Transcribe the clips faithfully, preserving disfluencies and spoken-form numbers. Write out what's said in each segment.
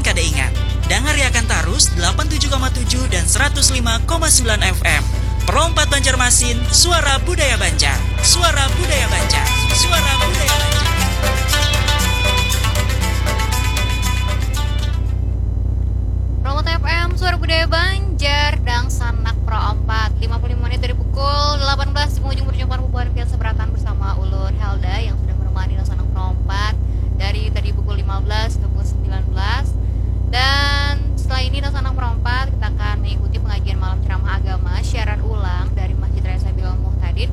Kada ingat, dangariakan tarus delapan tujuh koma tujuh dan seratus lima koma sembilan F M. Pro empat Banjarmasin, suara budaya Banjar. Suara budaya Banjar. Suara budaya Banjar. Pro empat F M, suara budaya Banjar, dangsanak Pro empat. Lima puluh lima menit dari pukul delapan belas di penghujung perjumpaan bubuhan pian sabarataan bersama ulun Helda yang sudah menemani dangsanak Pro empat dari tadi pukul lima belas hingga pukul sembilan belas. Dan setelah ini, dangsanak Pro empat, kita akan mengikuti pengajian malam ceramah agama siaran ulang dari Masjid Raya Sabilul Muhtadin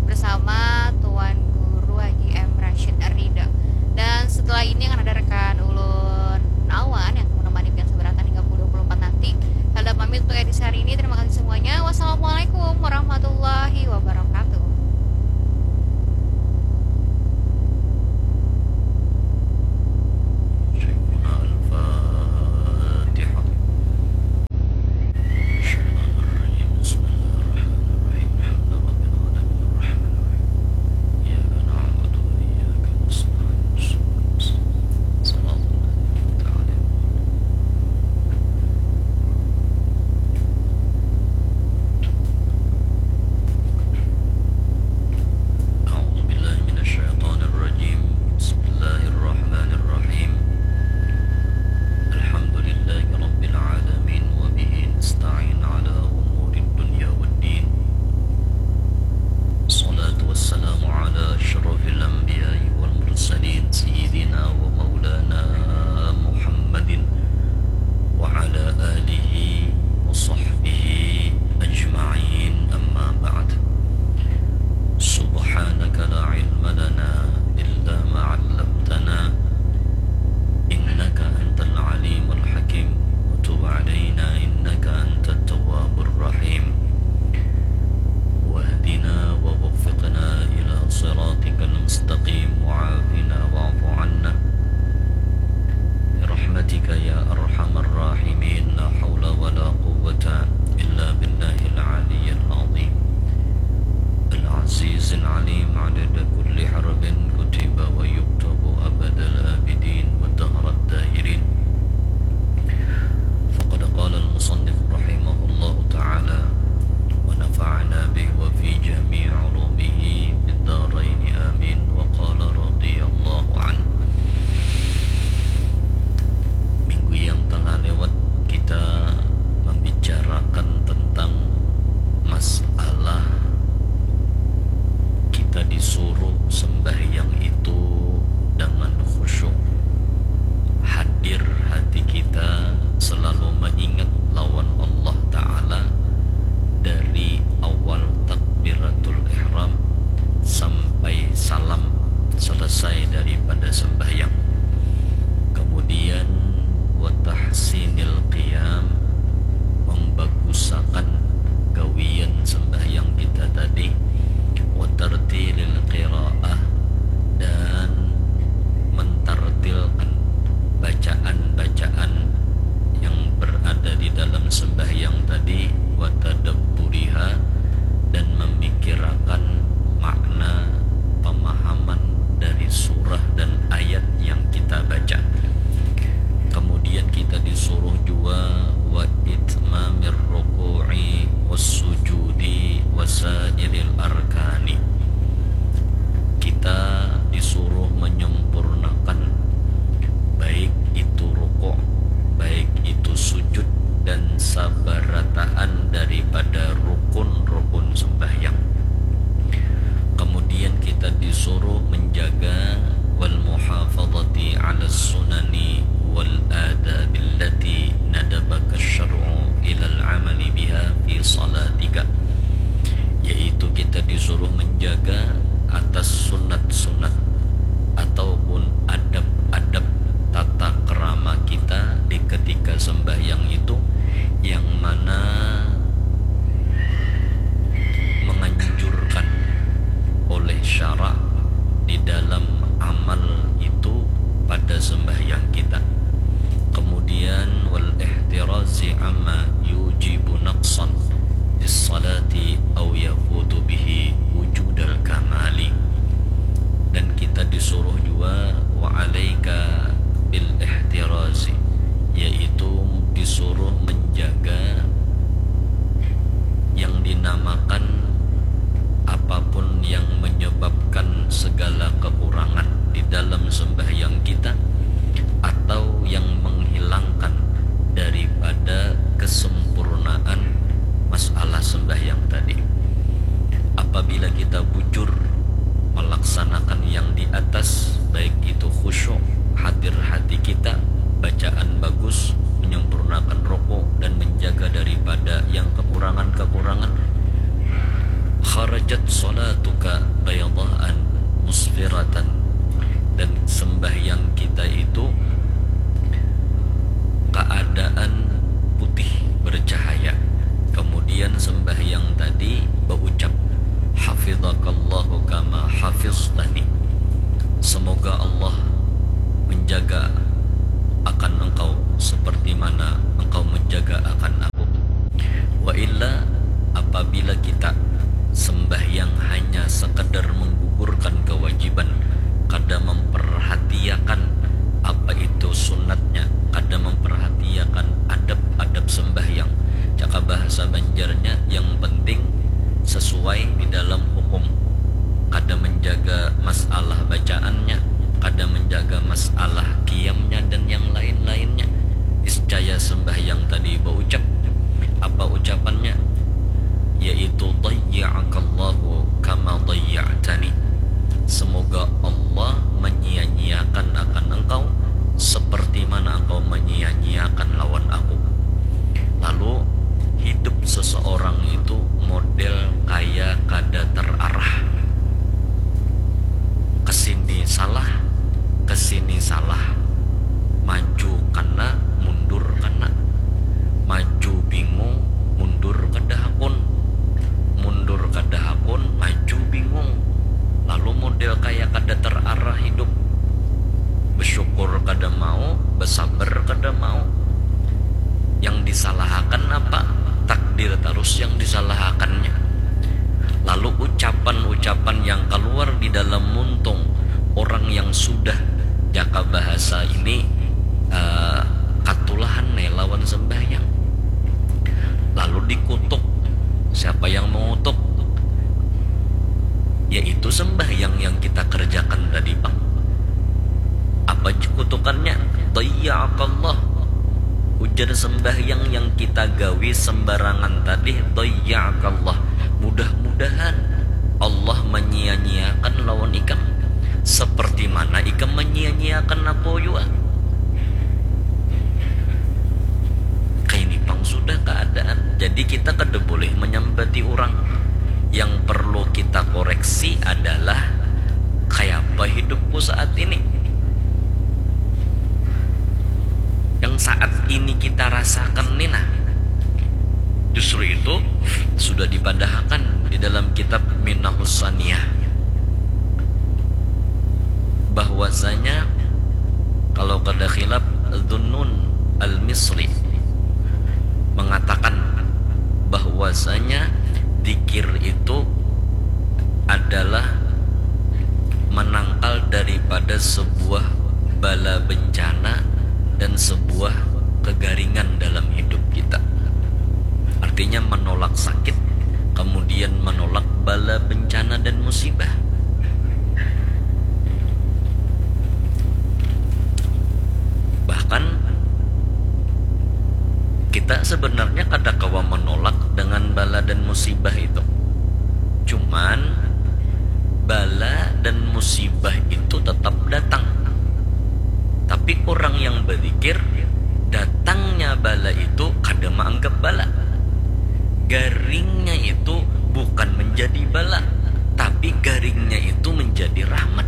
bersama Tuan Guru Haji M Rashid Ridho. Dan setelah ini akan ada rekan ulun Awan yang akan menemani pian sabarataan hingga pukul dua puluh empat nanti. Helda pamit untuk edisi hari ini. Terima kasih semuanya. Wassalamualaikum warahmatullahi wabarakatuh. Syaikhuna Al-Fatihah. Bismillahirrahmanirrahim. Alhamdulillahirabbil alamin, arrahmanirrahim. Iyyaka na'budu wa iyyaka nasta'in. Shiratal ladzina an'amta 'alaihim. أعوذ بالله من الشيطان الرجيم. بسم الله الرحمن الرحيم. الحمد لله رب العالمين، وبه نستعين على أمور الدنيا والدين. الصلاة والسلام على أشرف الأنبياء والمرسلين، سيدنا ومولانا محمد وعلى آله وصحبه أجمعين، أما بعد. سبحانك لا علم لنا إلا ما علمتنا، إنك أنت العليم الحكيم، وتب علينا إنك أنت التواب الرحيم، واهدنا ووفقنا إلى صراطك المستقيم، وعافنا واعف عنا برحمتك يا أرحم الراحمين. لا حول ولا قوة إلا بالله العلي العظيم العزيز العليم، عدد كل حرف كتب ويكتب أبد الآبدين ودهر الداهرين. فقد قال المصنف رحمه الله تعالى، ونفعنا به وفي جميع علومه في الدارين، آمين. وقال رضي الله عنه. Minggu yang telah lewat, kita membicarakan tentang masalah kita disuruh sembahyang itu dengan khusyuk, hadir hati kita selalu mengingat lawan Allah Ta'ala dari awal takbiratul ihram sampai salam selesai daripada sembahyang. Kemudian, watahsinil qiyam, membagusakan gawian sembahyang kita tadi, watartilil qiraah, dan mentartilkan bacaan-bacaan yang berada di dalam sembahyang tadi, watadabburiha, dan memikirakan makna pemahaman dari surah dan ayat yang kita baca. Kemudian kita disuruh jua wa itmamir ruku'i was sujudi wasairil arkani. Kita disuruh menyempurnakan baik itu rukuk, baik itu sujud, dan sabarataan Bila kita sembahyang hanya sekadar menggugurkan kewajiban, kada memperhatiakan apa itu sunatnya, kada memperhatiakan adab-adab sembahyang, cakap bahasa Banjarnya yang penting sesuai di dalam hukum, kada menjaga masalah bacaannya, kada menjaga masalah kiamnya dan yang lain-lainnya. Iscaya sembahyang tadi baucap, apa ucapannya? Yaitu, "Dayya'akallahu kama dayya'tani." Semoga Allah menyia-nyiakan akan engkau seperti mana engkau menyia-nyiakan lawan aku. Lalu, hidup seseorang itu model kaya kada terarah. Kesini salah, kesini salah. Maju kana, mundur kana. Maju bingung, mundur kada hakun. Mundur kada hakun, maju bingung. Lalu model kaya kada terarah hidup. Bersyukur kada mau, bersabar kada mau. Yang disalahakan apa? Takdir terus yang disalahakannya. Lalu ucapan-ucapan yang keluar di dalam muntung orang yang sudah, jaka bahasa ini, eh, katulahan nih lawan sembahyang. Lalu dikutuk. Siapa yang mengutuk? Yaitu sembahyang yang kita kerjakan tadi, Bang. Apa kutukannya? Dayya'akallah. Ujar sembahyang yang kita gawi sembarangan tadi, dayya'akallah. Mudah-mudahan Allah menyia-nyiakan lawan ikam. Seperti mana ikam menyia-nyiakan aku jua? Kaini pang sudah keadaan. Jadi kita kada boleh menyambati orang. Yang perlu kita koreksi adalah kayapa hidupku saat ini. Yang saat ini kita rasakan ni nah, justru itu sudah dipadahakan di dalam kitab Minahus Saniyah, bahwasanya kalau kada khilaf, Dhunnun Al-Misri mengatakan bahwasanya zikir itu adalah menangkal daripada sebuah bala bencana dan sebuah kegaringan dalam hidup kita. Artinya menolak sakit, kemudian menolak bala bencana dan musibah. Bahkan kita sebenarnya kada kawa menolak dengan bala dan musibah itu. Cuman bala dan musibah itu tetap datang. Tapi orang yang berzikir, datangnya bala itu kada menganggap bala. Garingnya itu bukan menjadi bala, tapi garingnya itu menjadi rahmat.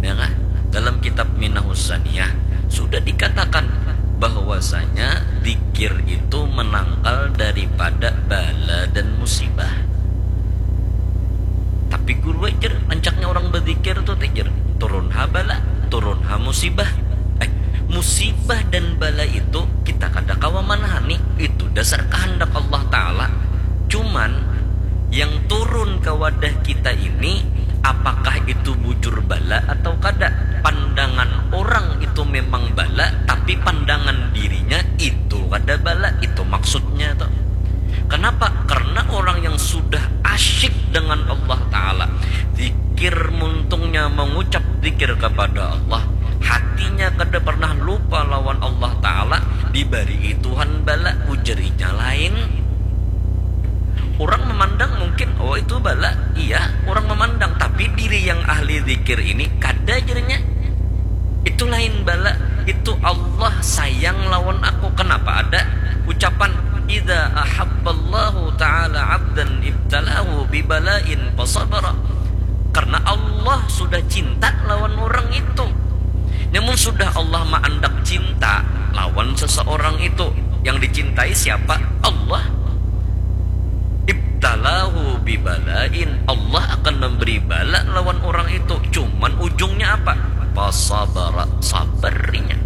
Ya kan? Dalam kitab Minahus Saniyah sudah dikatakan bahwasanya zikir itu menangkal daripada bala dan musibah. Tapi guru ajar, ancaknya orang berzikir tuh tejer turun ha bala, turun ha musibah. Eh, musibah dan bala itu kita kada kawa manahani, itu dasar kehendak Allah Ta'ala. Cuman yang turun ke wadah kita ini, apakah itu bujur bala atau kada? Pandangan orang itu memang bala, tapi pandangan dirinya itu kada bala, itu maksudnya tuh. Kenapa? Karena orang yang sudah asyik dengan Allah Ta'ala, zikir muntungnya mengucap zikir kepada Allah, hatinya kada pernah lupa lawan Allah Ta'ala, dibari Tuhan bala, ujar inya lain. Orang memandang mungkin, oh itu bala, iya, orang memandang, tapi diri yang ahli zikir ini kada jadinya. Itu lain bala, itu Allah sayang lawan aku. Kenapa ada ucapan, "Idza ahabballahu ta'ala abdan ibtalahu bibalain fasabara." Karena Allah sudah cinta lawan orang itu. Namun sudah Allah maandak cinta lawan seseorang itu, yang dicintai siapa? Allah. Ibtalahu bibalain, Allah akan memberi bala lawan orang itu. Cuman ujungnya apa? Fasabara, sabar inya.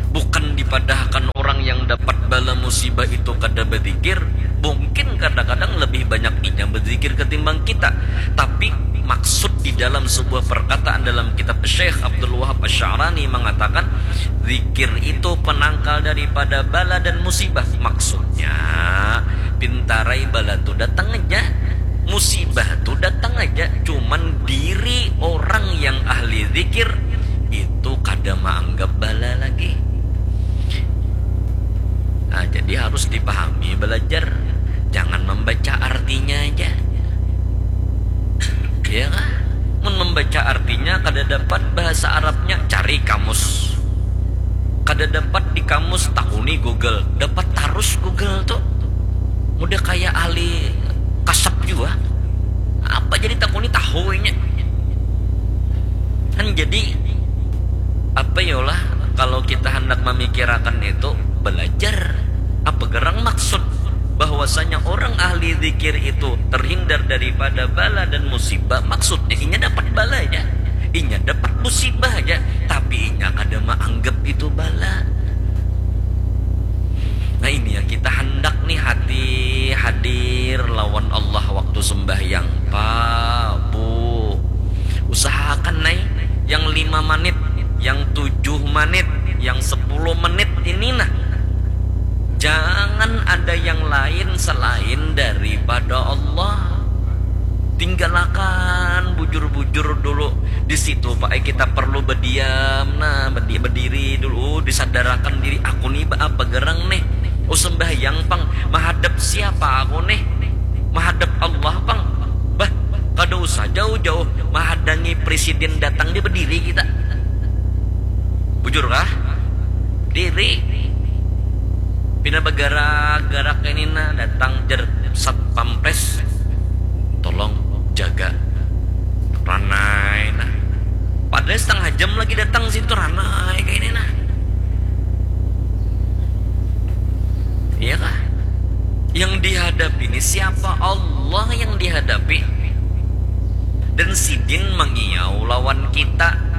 Bukan dipadahakan orang yang dapat bala musibah itu kada berzikir, mungkin kadang-kadang lebih banyak inya berzikir ketimbang kita. Tapi maksud di dalam sebuah perkataan dalam kitab Syekh Abdul Wahab Asy-Sya'rani mengatakan, zikir itu penangkal daripada bala dan musibah. Maksudnya, pintarai bala tu datang aja, musibah tu datang aja, cuman diri orang yang ahli zikir itu kada maanggap bala lagi. Nah, jadi harus dipahami belajar. Jangan membaca artinya aja. Ya kan? Mun membaca artinya kada dapat bahasa Arabnya, cari kamus. Kada dapat di kamus, takuni Google. Dapat tarus Google tuh. Mudah kayak ahli kasap juga. Apa jadi takuni tahunya? Kan jadi apa yolah kalau kita hendak memikirakan itu belajar apa gerang maksud bahwasanya orang ahli zikir itu terhindar daripada bala dan musibah, maksudnya inya dapat bala aja, inya dapat musibah aja, tapi inya kada maanggap itu bala. Nah, ini yang kita hendak nih, hati hadir lawan Allah waktu sembahyang. Pak, Bu, usahakan nai yang lima menit, yang tujuh menit, yang sepuluh menit ini nah, jangan ada yang lain selain daripada Allah. Tinggalakan bujur-bujur dulu. Di situ, Pak, eh, kita perlu berdiam, nah, bedi- berdiri dulu, disadarakan diri, aku nih apa gerang nih. Oh, sembahyang pang, menghadap siapa aku nih? Menghadap Allah pang. Bah, kada usah jauh-jauh menghadangi presiden datang, dia berdiri kita. Bujur kah? Diri. Pina bergerak-gerak ini nah, datang jer satpam pres, tolong jaga ranai nah. Padahal setengah jam lagi datang situ, ranai kayak ini nah. Iya kah? Yang dihadapi ini siapa? Allah yang dihadapi. Dan sidin mengiau lawan kita.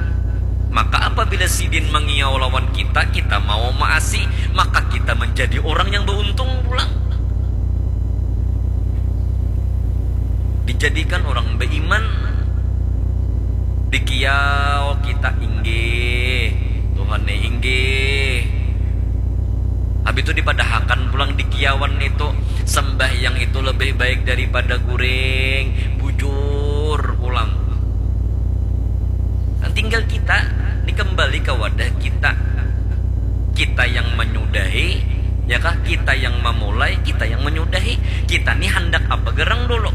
Maka apabila sidin mengiau lawan kita, kita mau maasi, maka kita menjadi orang yang beruntung pulang. Dijadikan orang beriman, dikiau kita, inggih Tuhan nih, inggih. Habis itu dipadahakan pulang dikiauan itu, sembahyang itu lebih baik daripada guring, bujur pulang. Nah, tinggal kita dikembali ke wadah kita. Kita yang menyudahi, ya kah? Kita yang memulai, kita yang menyudahi. Kita nih hendak apa gerang dulu?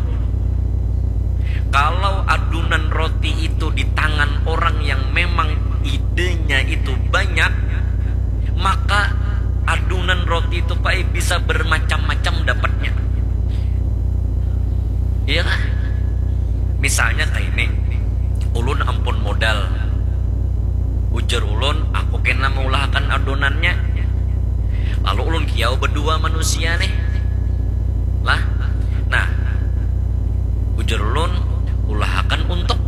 Kalau adunan roti itu di tangan orang yang memang idenya itu banyak, maka adunan roti itu, Pak, bisa bermacam-macam dapatnya. Iya kah? Misalnya kayak ini, ulun ampun modal. Ujar ulun, aku kena mengulahkan adonannya. Lalu ulun kiau berdua manusia nih. Lah, nah, ujar ulun, ulahakan untuk.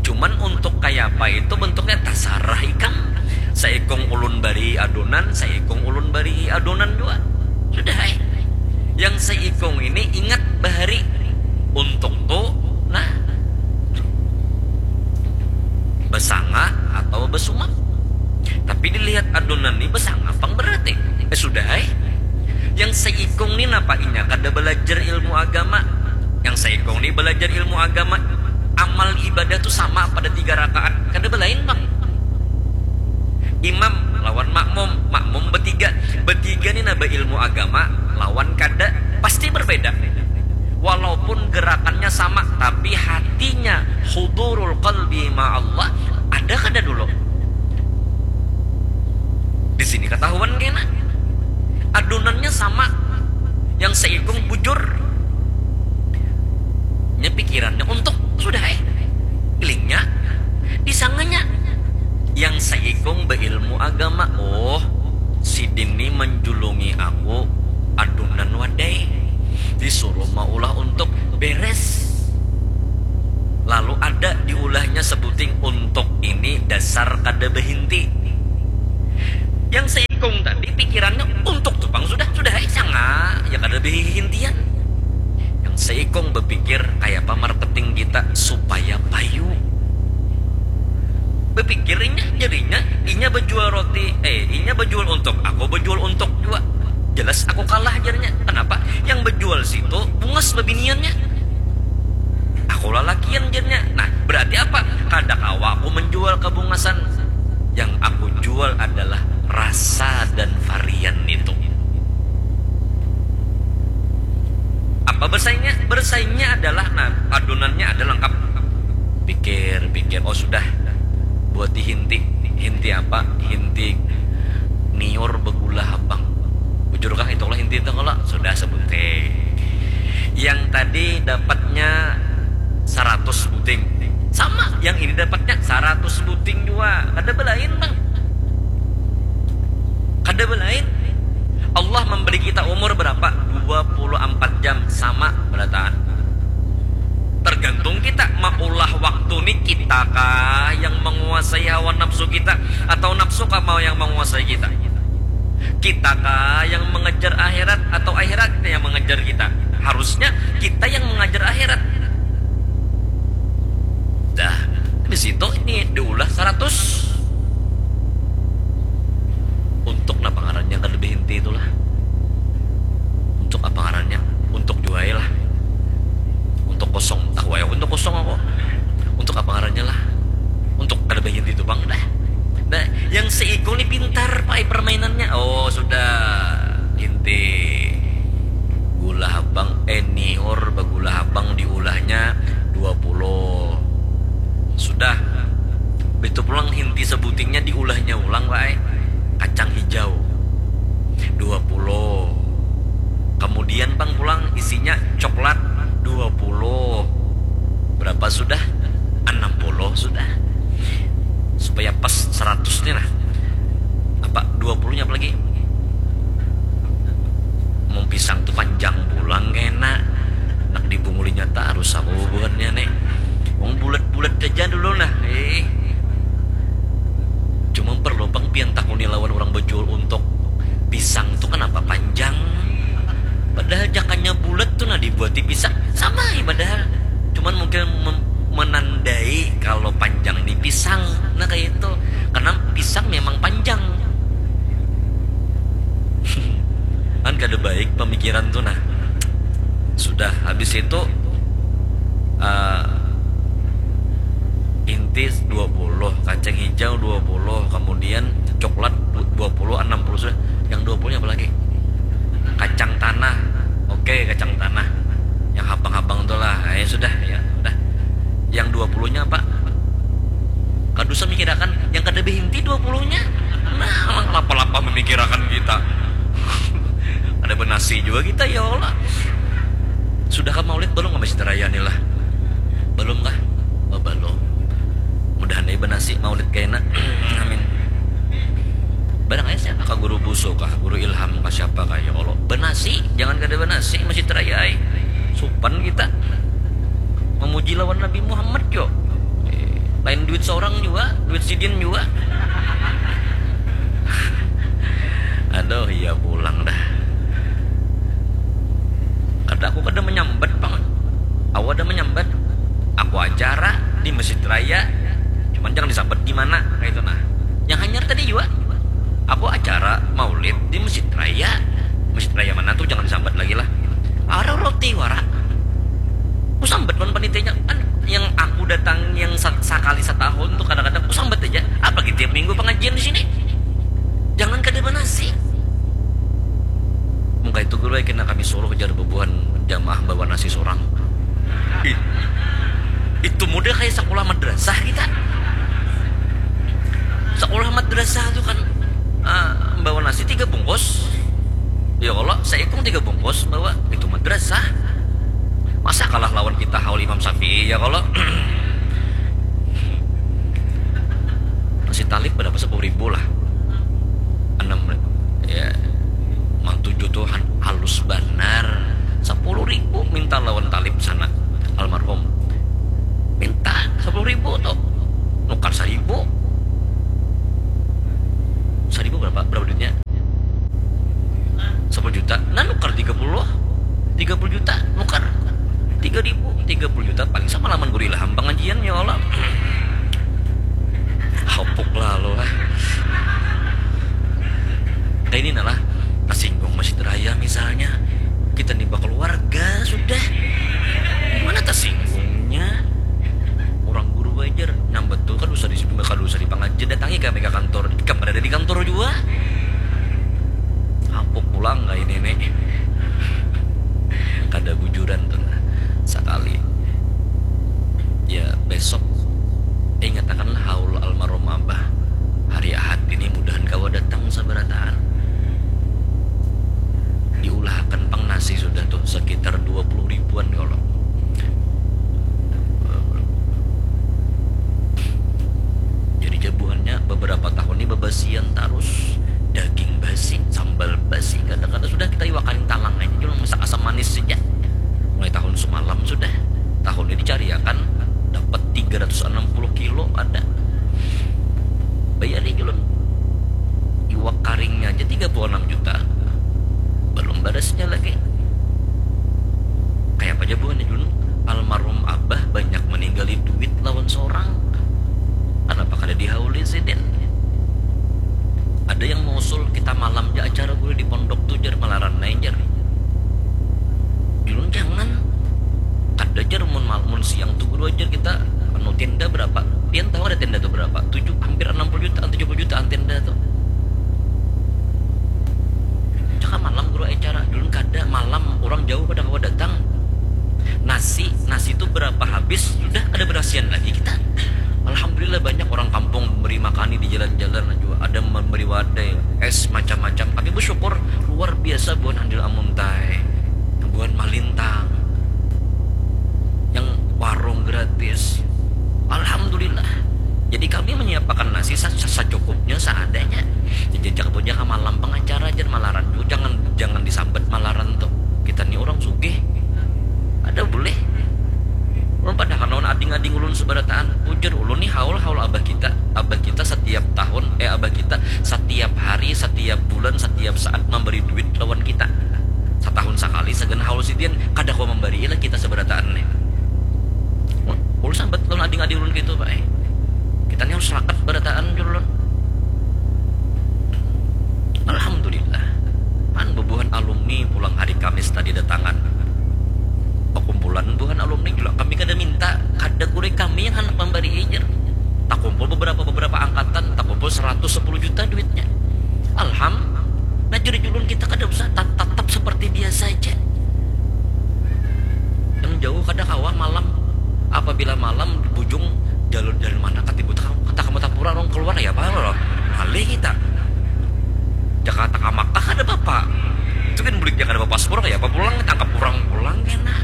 Cuman untuk kayak apa itu bentuknya, tasarah ikam. Saikung ulun bari adonan, saikung ulun bari adonan juga. Sudah, eh. Yang saikung ini ingat bahari untuk tu, nah, basanga atau basumap. Tapi dilihat adonan ni basanga pang berarti. Eh, sudah, eh. Yang saikung ni napa inya kada belajar ilmu agama? Yang saikung ni belajar ilmu agama. Amal ibadah tu sama pada tiga rakaat. Kada belain pang. Imam lawan makmum, makmum betiga. Betiga ni naba ilmu agama lawan kada pasti berbeda. Walaupun gerakannya sama, tapi hatinya hudurul qalbi ma Allah ada kada dulu? Di sini ketahuan kena. Adunannya sama, yang seikung bujur. Nya pikirannya untuk sudah, eh. Ilingnya, disanganya. Yang seikung beilmu agama, oh, sidin ni menjulungi aku adunan wadai. Disuruh maulah untuk beres. Lalu ada diulahnya sebuting untuk ini dasar kada behinti. Yang seikung tadi pikirannya supaya payu. Bepikir inya, jadinya inya bejual roti, eh, inya bejual untuk, aku bejual untuk jua. Jelas aku kalah, jarnya. Kenapa? Yang bejual situ bungas bebiniannya. Aku lalakian, jarnya. Nah, berarti apa? Kada kawa aku menjual kebungasan. Yang aku jual adalah rasa dan varian itu. Apa bersaingnya? Bersaingnya adalah, nah, adonannya ada lengkap. Pikir, pikir, oh sudah. Buat di hinti. Hinti apa? Hinti niur begula habang. Bujur kah itu lah hinti itu kalau sudah sebuting. Yang tadi dapatnya seratus buting. Sama, yang ini dapatnya seratus buting juga. Kada belain, Bang. Kada belain. Allah memberi kita umur berapa? Dua puluh empat jam, sama berataan. Tergantung kita maulah waktu ni, kita kah yang menguasai hawa nafsu kita atau nafsu kah mau yang menguasai kita? Kita kah yang mengejar akhirat atau akhirat yang mengejar kita? Harusnya kita yang mengejar akhirat. Dah, di situ ini diulah seratus. Untuk napa ngarannya kada lebih inti itulah? Untuk apa ngarannya? Untuk juai lah. Untuk kosong, tahu ya untuk kosong aku. Untuk apa ngarannya lah? Untuk kada lebih inti itu, Bang, dah. Nah, yang seiko ni pintar pakai permainannya. Oh, sudah. Inti gula habang, eh, niur begula habang diulahnya dua puluh. Sudah. Begitu pulang hinti sebutingnya diulahnya ulang, wae. Kacang hijau dua puluh. Kemudian, Bang, pulang isinya coklat dua puluh. Berapa sudah? Enam puluh sudah. Supaya pas seratus nih, nah. Apa dua puluhnya apa lagi? Mau pisang tuh panjang pulang kena. Nak dibungulinya tak harus aku buhannya nih. Wong bulat-bulat aja dulu nah. Eh. Cuma perlu, Bang, pian takuni lawan orang bejual untuk pisang tuh kenapa panjang? Padahal jakannya bulat tuh nah dibuat di pisang. Sama ya padahal. Cuman mungkin mem- menandai kalau panjang di pisang. Nah, kayak itu. Karena pisang memang panjang. Kan kada baik pemikiran tuh nah. Sudah habis itu, eh, inti dua puluh, kacang hijau dua puluh, kemudian coklat du- dua puluh, enam puluh sudah. Yang dua puluh nya apa lagi? Kacang tanah. Oke, kacang tanah. Yang habang-habang tuh lah. Ya sudah, ya udah. Yang dua puluh nya apa? Kada usah mikirakan yang kada behinti dua puluh nya. Nah, lapa-lapa memikirakan kita. Ada benasi juga kita, ya Allah. Sudahkah maulid belum ke Masjid Raya ni lah? Belum kah? Oh, belum. Mudahan ai benasi maulid kaina. Amin. Barang ai siapa kah, guru Busu kah, guru Ilham kah, siapa kah, ya Allah. Benasi, jangan kada benasi Masjid Raya ai. Supan kita. Memuji lawan Nabi Muhammad jo. Eh, lain duit seorang juga, duit sidin juga. Aduh, iya pulang dah. Kada, aku kada menyambat, Bang. Aku ada menyambat. Aku acara di Masjid Raya. Cuman jangan disambat di mana, kayak itu nah. Yang hanyar tadi juga. Aku acara maulid di Masjid Raya. Masjid Raya mana tuh, jangan disambat lagi lah. Ada roti wara. Aku sambat lawan panitianya, kan yang aku datang yang sa- sakali setahun tuh kadang-kadang aku sambat aja. Apalagi tiap minggu pengajian di sini. Jangan kada benasi. Mungkin itu guru kena kami suruh jar bebuhan jamaah bawa nasi seorang. Ih, itu model kayak sekolah madrasah kita. Sekolah madrasah tuh kan, ah, bawa nasi tiga bungkus. Ya Allah, seikung tiga bungkus bawa, itu madrasah. Masa kalah lawan kita haul Imam Syafi'i, ya kalau? Nasi talib berapa? Sepuluh ribu lah. Enam, ya, mang tujuh tuh han- halus banar. Sepuluh ribu minta lawan talib sana, almarhum. Minta sepuluh ribu tuh. Nukar seribu. Seribu berapa? Berapa duitnya? Sepuluh juta. Nah, nukar tiga puluh. Tiga puluh juta, nukar. Tiga ribu, tiga puluh juta paling sama lawan guru Ilham. tu berapa? Tujuh, hampir enam puluh jutaan, tujuh puluh jutaan tenda tu. Cakap malam guru acara, dulu kada malam, orang jauh kada kawa datang. Nasi, nasi tu berapa habis, sudah kada berasian lagi kita. Alhamdulillah banyak orang kampung memberi makani di jalan-jalan juga. Ada memberi wadai, es, macam-macam. Kami bersyukur luar biasa buhan Handil Amuntai, buhan Malintang, yang warung gratis. Alhamdulillah. Jadi kami menyiapakan nasi sa- sa- secukupnya, seadanya. Jadi jangan punya kamalam pengacara aja malaran tu, jangan jangan disambat malaran tu. Kita ni orang sugih. Ada boleh. Ulun padahakan lawan ading-ading ulun seberataan. Ujar ulun ni haul-haul abah kita. Abah kita setiap tahun, eh, abah kita setiap hari, setiap bulan, setiap saat memberi duit lawan kita. Setahun sekali, sagan haul sidin, kada kawa memberi lah kita seberataan nih. Ulun sambat lawan ading-ading ulun gitu, Pak, eh. Kita ni harus rakat berataan, jul ulun. Alhamdulillah. Pan bubuhan alumni pulang hari Kamis tadi datangan. Pakumpulan buhan alumni jua kami kada minta, kada gurih kami yang handak mambari, jar. Takumpul beberapa beberapa angkatan, takumpul seratus sepuluh juta duitnya. Alham, nah, jadi julun kita kada usah, tat- tatap seperti biasa aja. Yang jauh kada kawa malam. Apabila malam bujung, jalur dari mana katibu, kata kamu tapura orang keluar ya apa lo? Malih kita. Jakarta ka Makkah kada apa-apa. Itu kan buliknya kada apa-apa, sepuluh ya apa pulang, tangkap orang pulang kena.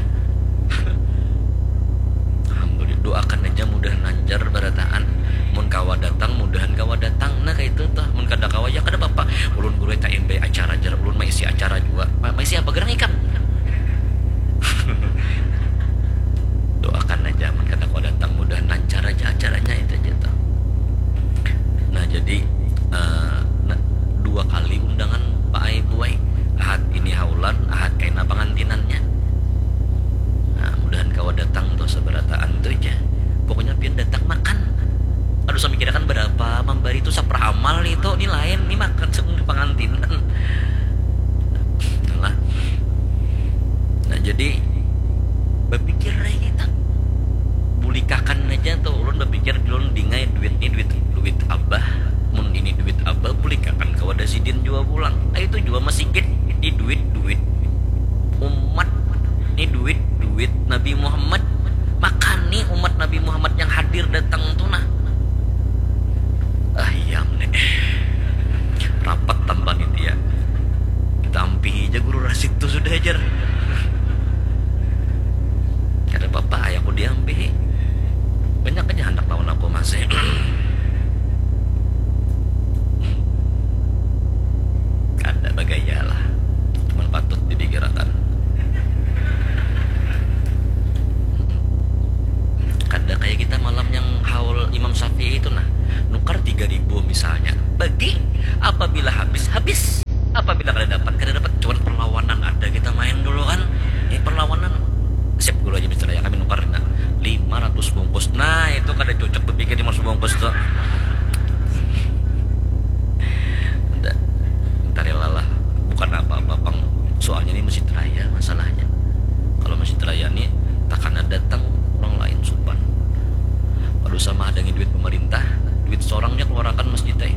Alhamdulillah, doakan aja mudahan lancar berataan. Mun kawa datang, mudahan kawa datang. Nah, kayak itu tuh. Mun kada kawa, ya kada apa-apa. Ulun guru tak imbai acara aja. Ulun maisi acara juga. Ma- maisi apa gerang ikam? Doakan aja, mun kada kawa datang, mudahan lancar aja acaranya, itu aja tuh. Nah, jadi, eh, nah, dua kali undangan Pak Ai Buai. Ahad ini haulan, ahad kaina pangantinannya. Nah, mudahan kawa datang tuh seberataan tuh aja. Pokoknya pian datang makan. Aduh, saya mikirakan berapa memberi itu saprah amal nih tuh, ini lain, ini makan sebelum pangantinan. Nah, nah, jadi berpikir aja kita. Bulikakan aja tuh, ulun berpikir, ulun dingai duit nih, duit duit abah. Mun ini duit abah, bulikakan kawa ada sidin jua pulang. Nah, itu jua masigit, ini duit duit umat, ini duit duit Nabi Muhammad. Makani umat Nabi Muhammad yang hadir datang tuh, nah. Ah, iya, nih. Rapat tanpa nitia. Kita ampihi aja guru Rasid tuh sudah ajar. Kada apa-apa, ayahku diampihi. Banyak aja hendak lawan aku masih. Kada bagaya lah. Cuman patut dipikirakan. Kada kayak kita malam yang haul Imam Syafi'i itu, nah. Nukar tiga ribu misalnya. Bagi, apabila habis, habis. Apabila kada dapat, kada dapat. Cuman perlawanan ada kita main dulu kan. Ini perlawanan. Siap dulu aja, misalnya kami nukar, nah, lima ratus bungkus. Nah, itu kada cocok berpikir lima ratus bungkus tuh. Nda, nda rela lah. Bukan apa-apa, pang. Soalnya ini masjid raya masalahnya. Kalau masjid raya nih, takana datang orang lain supan. Aduh, sama ada duit pemerintah, duit seorangnya keluarkan masjid teh.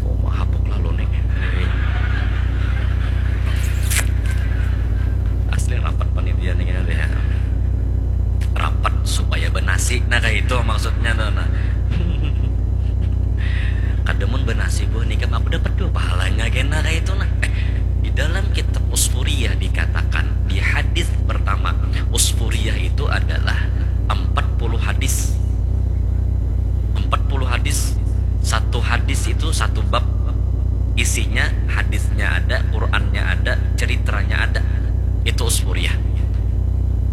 Oh, mahapuk lalu nih. Asli rapat panitia nih, ya. Rapat supaya benasi, nah, kayak itu maksudnya tuh, nah. Kada mun benasi buah nikam, aku dapat dua pahalanya kena kayak itu, nah. Eh, di dalam kitab Usfuriyah dikatakan, di hadis pertama, Usfuriyah itu adalah empat puluh hadis. Empat puluh hadis. Satu hadis itu satu bab. Isinya, hadisnya ada, Qurannya ada, ceritanya ada. Itu Usfuriyah.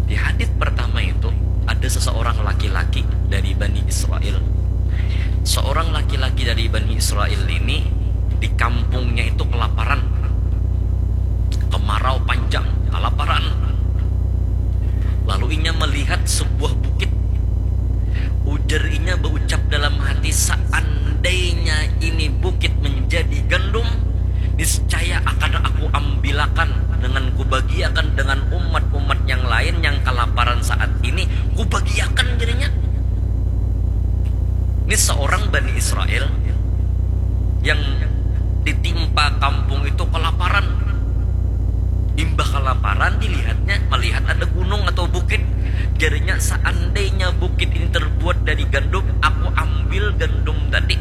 Di hadis pertama itu ada seseorang laki-laki dari Bani Israel. Seorang laki-laki dari Bani Israel ini di kampungnya itu kelaparan. Kemarau panjang, kelaparan. Lalu inya melihat sebuah bukit. Ujar inya berucap dalam hati, seandainya ini bukit menjadi gandum, niscaya akan aku ambilakan dengan kubagiakan dengan umat-umat yang lain yang kelaparan saat ini, kubagiakan Ini seorang Bani Israel yang ditimpa kampung itu kelaparan. Imbah kelaparan, dilihatnya, melihat ada gunung atau bukit. Jadinya, seandainya bukit ini terbuat dari gandum, aku ambil gandum tadi.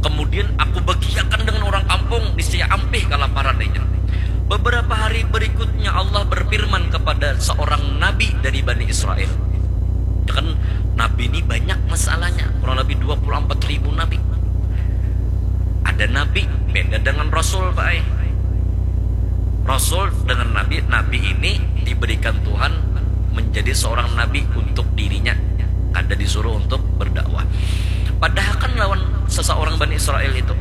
Kemudian aku bagiakan dengan orang kampung, niscaya ampih kelaparan ini. Beberapa hari berikutnya, Allah berfirman kepada seorang nabi dari Bani Israel. Ya kan, nabi ini banyak masalahnya, kurang lebih dua puluh empat ribu nabi. Ada nabi beda dengan rasul, Pak ai. Rasul dengan nabi, nabi ini diberikan Tuhan menjadi seorang nabi untuk dirinya, kada disuruh untuk berdakwah. Padahakan lawan seseorang Bani Israel itu.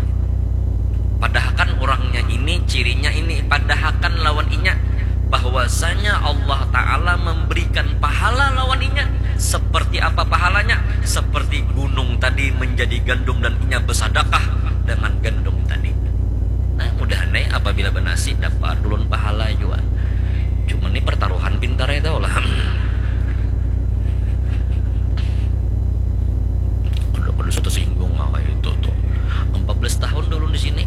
Padahakan orangnya ini, cirinya ini, padahakan lawan inya bahwasanya Allah Ta'ala memberikan pahala lawan inya. Seperti apa pahalanya? Seperti gunung tadi menjadi gandum dan inya bersadakah dengan gandum tadi. Nah, mudahan nih, apabila benasi, dapat ulun pahala jua. Cuma nih, pertaruhan pintar ya, tahu lah. Kada, kada usah tersinggung lah kayak itu tuh. Empat belas tahun dulu di sini.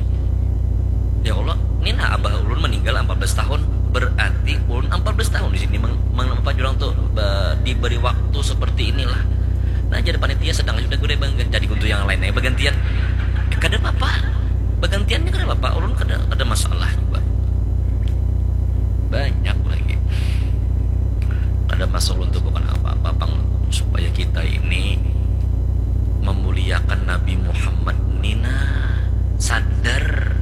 Ya Allah, ini nah, abah ulun meninggal empat belas tahun. Berarti ulun empat belas tahun di sini meng, meng, apa jurang tuh, ba, diberi waktu seperti inilah. Nah, jadi panitia sedang sudah gede bang, jadi kuntu yang lain aja bergantian. Kada apa-apa. Bergantiannya kada apa-apa. Ulun kada, kada masalah juga. Banyak lagi. Kada masalah untuk bukan apa-apa, pang, supaya kita ini memuliakan Nabi Muhammad nina, sadar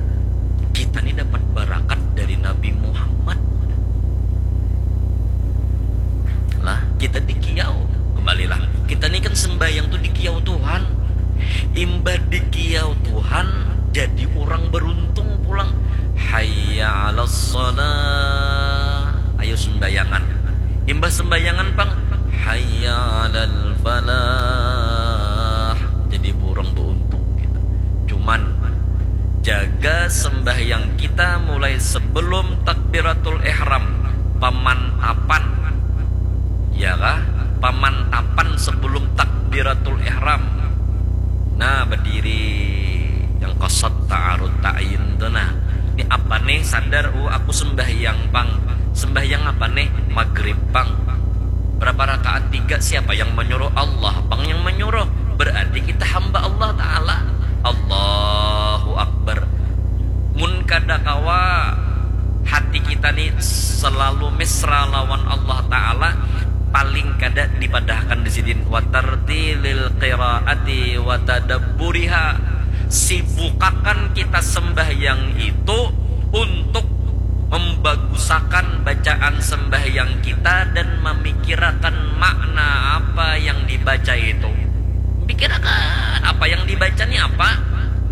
kita ni dapat barakat dari Nabi Muhammad. Lah, kita dikiau, kembalilah. Kita ni kan sembahyang tuh dikiau Tuhan. Imbah dikiau Tuhan, jadi orang beruntung pulang. Hayya 'alas shalah. Ayo sembayangan. Imbah sembayangan pang, hayya 'alal falah. Jadi orang beruntung kita. Cuman, jaga sembahyang kita mulai sebelum takbiratul ihram, pamantapan. Ya kah? Pamantapan sebelum takbiratul ihram. Nah, berdiri yang qasad ta'arud ta'yin tuh, nah. Ini apa nih? Sadar, oh, aku sembahyang pang. Sembahyang apa nih? Maghrib pang. Berapa rakaat? Tiga. Siapa yang menyuruh? Allah pang yang menyuruh. Berarti kita hamba Allah Ta'ala. Allahu Akbar. Mun kada kawa hati kita ni selalu mesra lawan Allah Ta'ala, paling kada dipadahkan di sidin, watartilil qiraati watadabburiha. Sibukakan kita sembahyang itu untuk membagusakan bacaan sembahyang kita dan memikirakan makna apa yang dibaca itu.